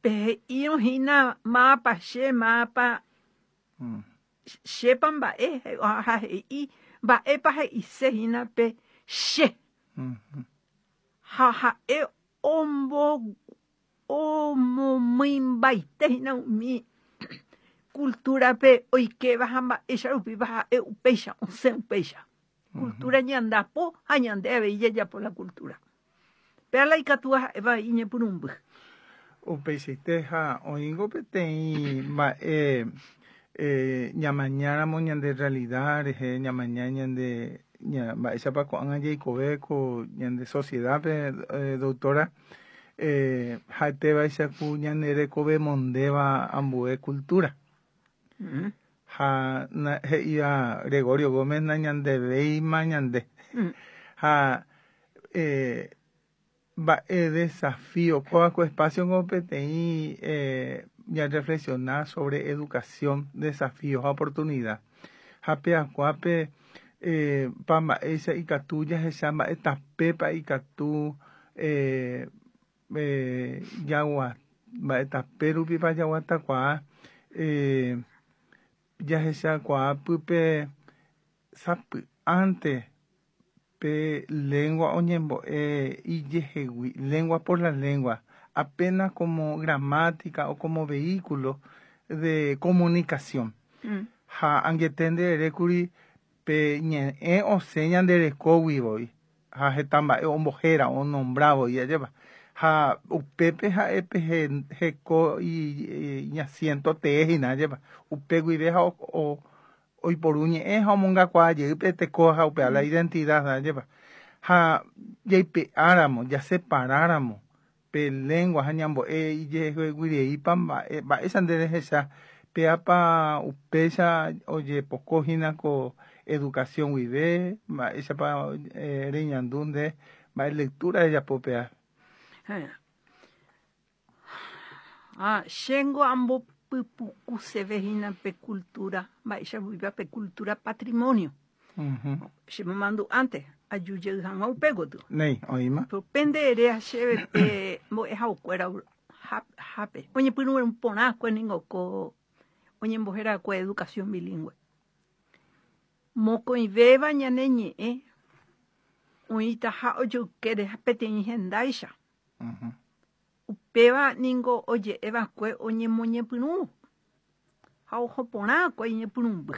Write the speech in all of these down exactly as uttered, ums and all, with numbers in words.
Pe he'írõ mávapa che mávapa Mm. chépa mba'e ha he'i mba'épa he'isehína pe che Mhm. ha ha'e ombo omomýimbaitehína umi cultura-pe oikéva ha mba'éicha rupípa ha'e upéicha osẽ upéicha cultura ñandapo ha ñande avei jajapo la cultura péa la ikatúva ha'éva iñepyrũmby. Upeichaite ha oĩngo peteĩ mba'e eh, ñamañáramo ñande realidad rehe ñamaña ñande ña mba'éichapa ko'ág̃a jaikove ko ñande sociedad-pe eh, doctora eh, ha'etévaicha ku ñande rekove mondéva ambue cultura Mm. ha na, he'íva Gregorio Gómez nañandevéima ñande Mm. ha eh, mba'e desafío kóva ko espacio ko peteĩ eh, ñareflexiona sobre educación, desafío ha oportunidad ha peakuápe eh, pa mba'éicha ikatu jahecha mba'e tapépa ikatu eh, eh, jagua mba'e tape rupípa jaguatakuaa eh, jahechakuaa pype sapy'ánte pe lengua oñembo'e ijehegui lengua por la lengua apenas como gramática o como vehículo de comunicación Mm. ha angete ndererékuri pe ñe'ẽ osẽ ñanderekógui voi ha heta mba'e ombohéra onombrávoi ajépa ha upépe ha'e pe heko iñasiento tee hína ajépa upe guive ha o oiporu ñe'ẽ ha omongakuaa pe teko ha upéva la identidad ajépa ha jaipe'áramo jaseparáramo pe lengua ha ñambo'e ijeheguireípa mba'e mba'éicha nde rehecha péapa upéicha ojepokohína ko educación guive mba'éichapa eh, reñandu nde mba'e lectura rejapo péa. Ah, chéngo ambopypukusevehína pe cultura mba'éicha pe cultura patrimonio. Uh-huh. Chemomandu'ánte ajujey hag̃ua upe gotyo. Néi, oĩma. Upe nde ere chéve pe mbo'ehaokuéra hápe oñepyrũ porãkue ningo ko oñembohérakue educación bilingüe. Mokõivéva ñane ñe'ẽ oĩtaha ojoykére peteĩ hendáicha. Uh-huh. Upéva ningo oje'eva'ekue oñemoñepyrũ ha oho porãkue iñepyrũmby.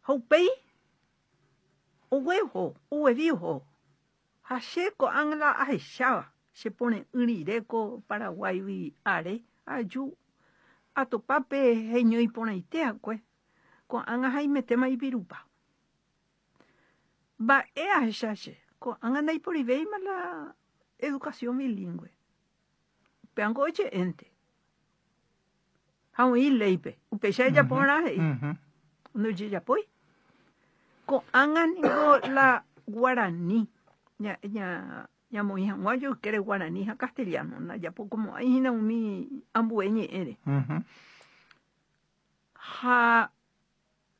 Ha upéi ogueho oguevi oho ha che ko'ág̃a la ahecháva chepore'ỹ rire ko Paraguáigui are aju atopápe heñói porãite'akue ko'ág̃a haimetéma ipirupa. Mba'e ahecha che ko'ág̃a ndaiporivéima la educación bilingüe. Upévango oje'énte ha oĩ léipe upéicha ejaporã he'i Uh-huh. ndojejapói. Ko'ág̃a ningo la guarani ña ña ñamoĩ hag̃ua ojoykére guarani ha castellano ndajapokomo'ãihína umi ambue ñe'ẽre. Uh-huh. Ha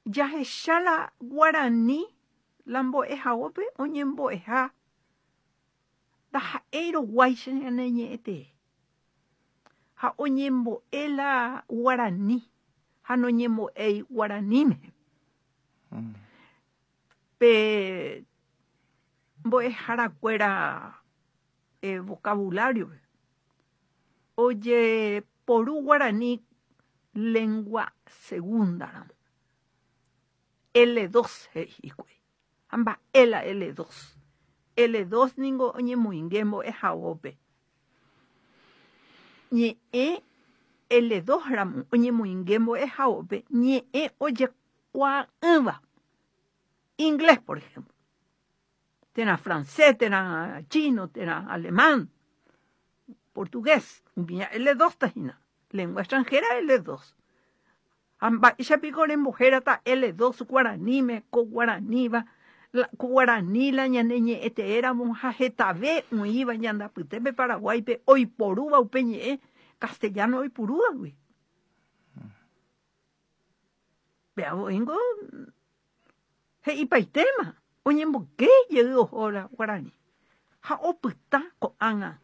jahecha la guarani la mbo'ehaópe oñembo'eha ndaha'éiroguáicha ñane ñe'ẽtee ha oñembo'e la guarani ha noñembo'éi guaraníme. Mm. Pe mbo'eharakuéra eh, vocabulario ojeporu guarani lengua segunda ramo L dos he'i hikuái ha mba'e la L dos L dos ningo oñemoinge mbo'ehaópe ñe'ẽ L dos ramo oñemoinge mbo'ehaópe ñe'ẽ ojekuaa'ỹva inglés por ejemplo térã francés térã chino térã alemán portugués umi L dos tahína lengua extranjera L dos ha mba'éichapiko rembohérata L dos guaraníme ko guaraníva ko guarani la ñane ñe'ẽteéramo ha hetave oĩva ñandapytépe Paraguáipe oiporúva upe ñe'ẽ castellano oipurúvagui. Péavoíngo he'ipaitéma oñemboyke jey oho la guarani ha opyta ko'ág̃a